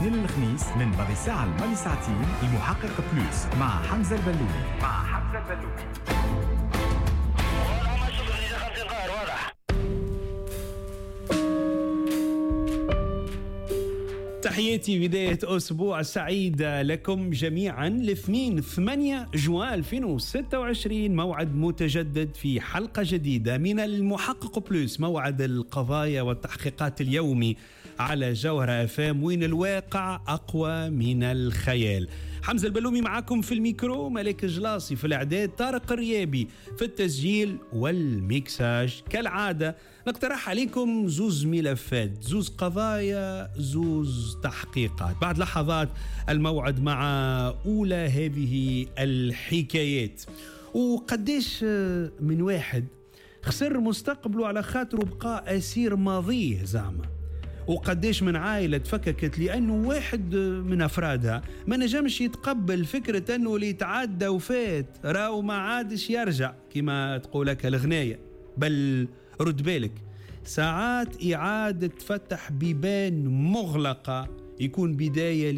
الاثنين للخميس من ماضي ساعة لماضي ساعتين، المحقق Plus مع حمزة البلومي. مع حمزة البلومي. تحياتي، بداية أسبوع سعيد لكم جميعا. الاثنين 8 جوان 2026، موعد متجدد في حلقة جديدة من المحقق Plus، موعد القضايا والتحقيقات اليومي على جوهرة اف ام، وين الواقع أقوى من الخيال. حمزة البلومي معكم في الميكرو، ملك جلاصي في الإعداد، طارق الريابي في التسجيل والميكساج. كالعادة نقترح عليكم زوز ملفات، زوز قضايا، زوز تحقيقات. بعد لحظات الموعد مع أولى هذه الحكايات. وقديش من واحد خسر مستقبله على خاطره بقى أسير ماضيه زعما، وقديش من عائلة تفككت لأنه واحد من أفرادها ما نجمش يتقبل فكرة أنه اللي تعدى وفات راهو ما عادش يرجع كما تقولك الغناية. بل رد بالك، ساعات إعادة فتح بيبان مغلقة يكون بداية